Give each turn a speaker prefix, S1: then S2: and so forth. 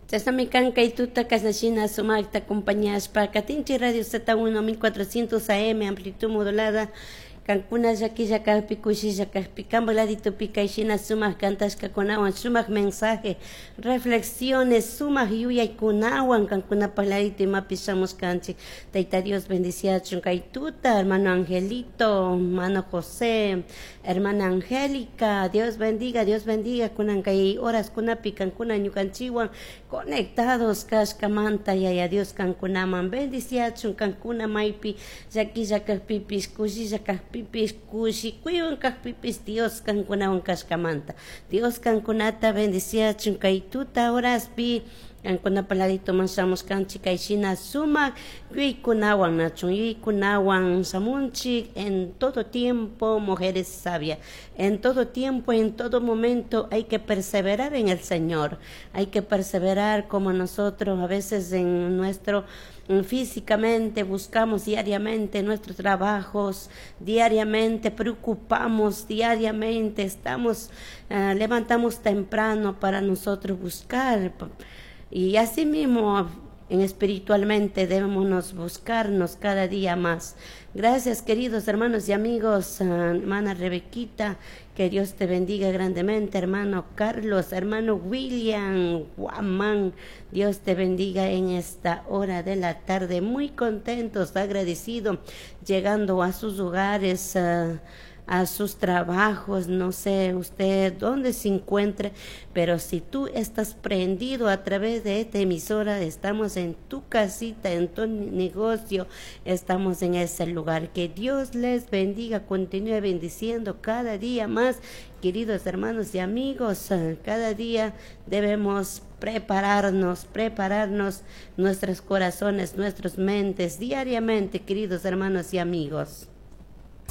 S1: Chashnami kan kay tuta kashnashina sumakta acompañashpa katinchik Radio Z1 1400 AM amplitud modulada. Kankuna llaquilla kajpi, kushilla kajpi, kanpak laditopi kayshina sumak cantashkakunawan, sumak mensaje, reflexiones, sumak yuyaykunawan kankunapak ladito imapi shamushkanchik. Tayta Dios bendiciachun kay tuta, hermano Angelito, hermano José, hermana Angélica, Dios bendiga, Dios bendiga kunan kay horas kunapi kankuna ñukanchikwan conectados kashkamanta yaya Dios kankunaman bendiciachun kankuna maypi llaquilla kajpipish, kushilla kajpipish, kushikuywan kajpipish Dios kankunawan kashkamanta. Dios kankunata bendiciachun kay tuta horaspi kankunapa laditoman shamushkanchik kayshina sumak yuyaykunawan nachun yuyaykunawan shamunchik en todo tiempo, mujeres sabias. En todo tiempo, en todo momento hay que perseverar en el Señor. Hay que perseverar como nosotros a veces en nuestro físicamente buscamos diariamente nuestros trabajos, diariamente preocupamos, diariamente estamos, levantamos temprano para nosotros buscar. Y así mismo en espiritualmente debemos nos buscarnos cada día más. Gracias, queridos hermanos y amigos, hermana Rebequita, que Dios te bendiga grandemente, hermano Carlos, hermano William Guamán, Dios te bendiga en esta hora de la tarde, muy contentos, agradecidos, llegando a sus hogares, a sus trabajos, no sé usted dónde se encuentre, pero si tú estás prendido a través de esta emisora, estamos en tu casita, en tu negocio, estamos en ese lugar. Que Dios les bendiga, continúe bendiciendo cada día más, queridos hermanos y amigos. Cada día debemos prepararnos, prepararnos nuestros corazones, nuestras mentes diariamente, queridos hermanos y amigos.